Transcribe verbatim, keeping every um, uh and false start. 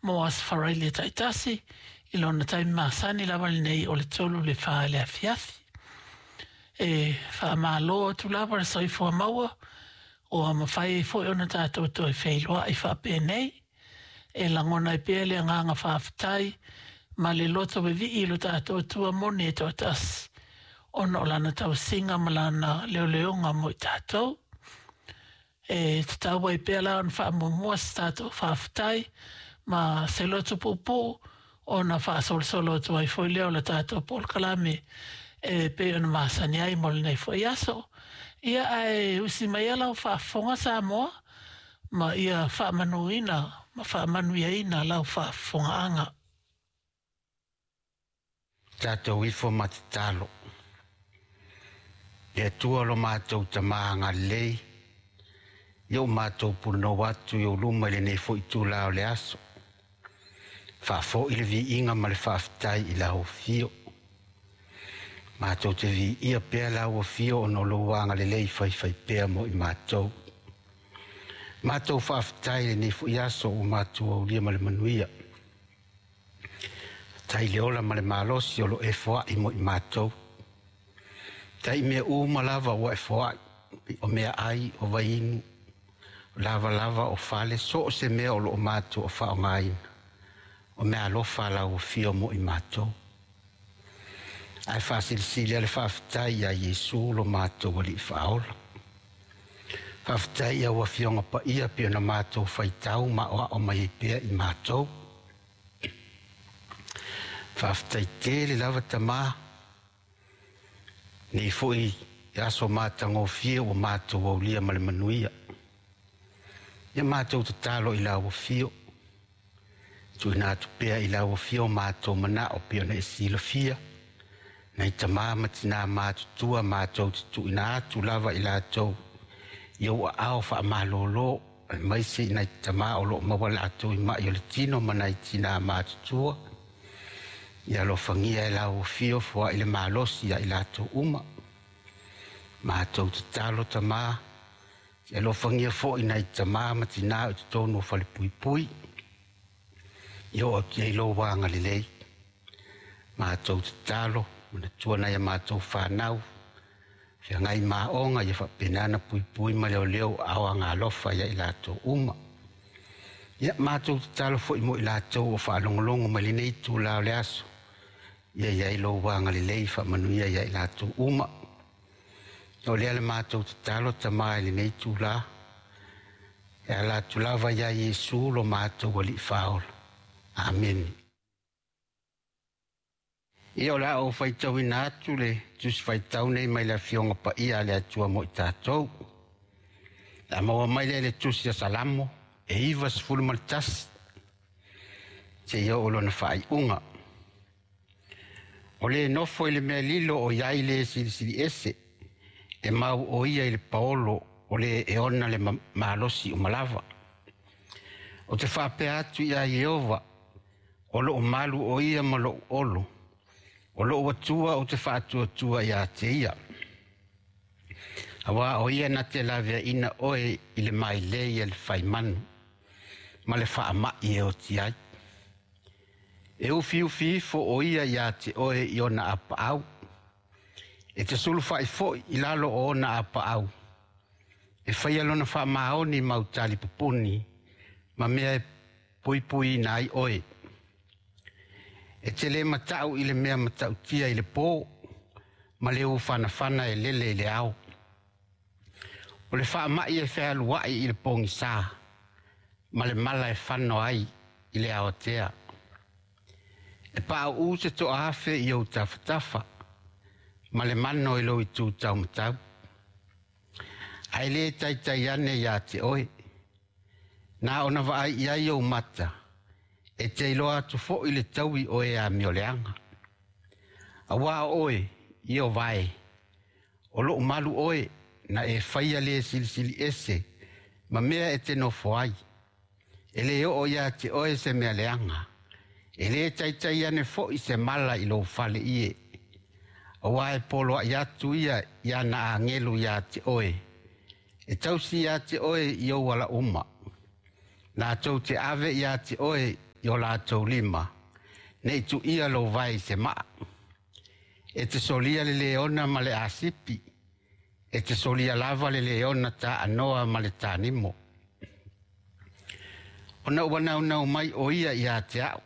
Mo aso Faraile taitasi i lona taimi masani lava lenei o le tolu i le fa i le afiafi. E faamalo atu lava le soifua maua ua mafai ai foi ona tatou toe feiloai faapenei. E lagona ai pea le agaga faafetai ma le loto vevii i lo tatou Atua moni e toatasi, ona o lana tausiga ma lana leoleoga mo i tatou. E tatau ai pea la ona faamuamua se tatou faafetai ma se loto puupuu ona faasolosolo atu ai foi lea o le tatou polokalame e pei ona masani ai mo lenei foi aso. Ia ae usi mai lau faafofoga Samoa ma ia faamanuina ma faamanuiaina lau faafofogaaga. Tatou ifo ma tatalo. Le Atua lo matou Tama agalelei, ia o matou punonou atu i ou luma i lenei foi itula o le aso. Faafoi le viiga ma le faafetai i lau afio. Matou te viia pea lau afio ona o lou agalelei faifaipea mo i matou. Matou faafetai i lenei foi aso ua matou aulia ma le manuia. Faafetai le ola ma le malosi o lo e foai mo i matou. Tai mea uma lava ua e foai, o mea ai, o vainu, o lavalava, o fale, so o se mea o lo o matou o faaaogaina, o mea alofa lau afio mo i matou. Ae faasilisili le faafetai ia Iesu lo matou Alii Faaola. Faafetai ia ua afioga paia pei ona matou faitau ma aoao mai ai pea i matou. Faafetai tele lava Tama, nei foi aso matagofie ua matou aulia ma le manuia. Ia matou tatalo i lau afio, tuuina atu pea i lau afio matou manao pei ona e silafia, nai tama ma tina matutua matou te tuuina atu lava i latou i ou aao faamalolo, aemaise i nai tama o loo maua latou i mai o le tino ma nai tina matutua. Ia alofagia e lau afio foai le malosi ia i latou uma. Matou tatalo Tama, ia alofagia foi nai tama ma tina o totonu o falepuipui, ia oo atu i ai lou agalelei. Matou tatalo, manatua nai a matou fanau, feagai maoga ia faapena ona puipui ma leoleo aao agalofa ia i latou uma. Ia matou tatalo foi mo i latou o faalogologo mai lenei itula o le aso, ia i ai lou agalelei faamanuia ia i latou uma. O lea le matou tatalo Tama i lenei itula, e ala atu lava ia Iesu lo matou Alii Faaola. Amene. Ia o le a ou faitauina atu le Tusi Faitau nei mai le Afioga Paia a le Atua mo i tatou. Le a maua mai lea i le Tusi a Salamo e iva sefulu ma le tasi seia oo lona faaiuga. O le nofo i le mea lilo o i ai le silisili ese, e mau o ia i le paolo o le e ona le malosi uma lava. O te faapea atu ia Ieova, o loo malu o ia ma lou olo, o lou Atua o te faatuatua ia te ia. Aua o ia na te laveaina oe i le mailei a le faimanu, ma le faamai e oti ai. E ufiufi ifo o ia ia te oe i ona apaau, e te sulufai foi i lalo o ona apaau, e faia lona faamaoni ma utali pupuni, ma mea e puipuiina ai oe. E te le matau i le mea matautia i le po, ma le ufanafana e lele i le ao. O le faamai e fealuai i le pogisa, ma le mala e fano ai i le aotea. E pauu se toafe i ou tafatafa, ma le mano i lou itu taumatau. Ae le taitai ane ia te oe, na ona vaai i ai ou mata, e te iloa atu foi le taui o e amioleaga. Aua o oe, Ieova e, o lou malu oe, na e faia le silisili ese, ma mea e te nofo ai. E le oo ia te oe se mea leaga, e le taitai ane foi se mala i lou fale ie. Aua e poloai atu ia i ana agelu ia te oe, e tausi ia te oe i ou ala uma. Latou te ave ia te oe i o latou lima, nei tuia lou vae i se maa. E te solia le leona ma le asipi, e te solia lava le leona taanoa ma le tanimo. Ona ua naunau mai o ia ia te au,